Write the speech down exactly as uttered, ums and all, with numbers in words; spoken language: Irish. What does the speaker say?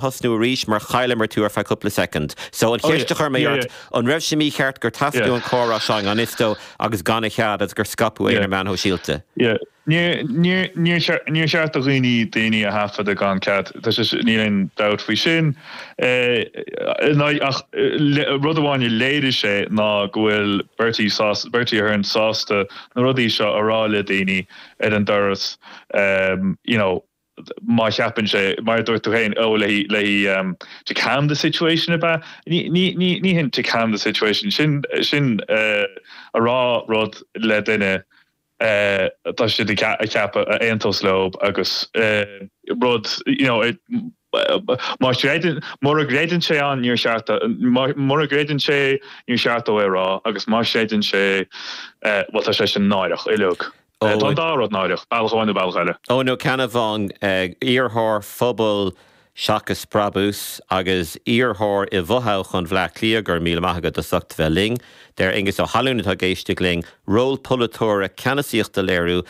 Thosnú arís mar chailleamar tú ar feadh cúpla soicind. So an cheist a chuir mé ort, an raibh sé mícheart gur taifeadadh an comhrá seo i ngan fhios dó agus gan a chead agus gur scaipeadh é ar na meáin shóisialta? Níor cheart do dhaoine daoine a thaifeadadh gan cead, níl aon dabht faoi sin. Ach rud amháin a léirigh sé ná go bhfuil Bertie Bertie Ahern sásta na rudaí seo a rá le daoine ar an doras you know, má cheapann sé mar dúirt tú féin ó le le um, to calm the situation ab ea ní ní hin to calm the situation sin sin uh, a rá rud le duine uh, tá siad a cheapadh a aontódh leo agus uh, rud you know, it, má mura gcreideann sé an níor cheart mura gcreideann sé níor cheart dó é rá agus má chreideann sé well tá sé sin náireach uilig. Tá dá rud náireach bealach amháin nó bealach eile. Ó nó Ceannabháin iarrthóir Phobal Seachas Brabús agus iarrthóir i bhfothoghchán Bhaile Átha Cliath go raibh míle maith agat as ucht bheith linn, Deir Aengus Ó hAlún atá ag éisteacht linn, ról polaiteora ceannasaíocht a léiriú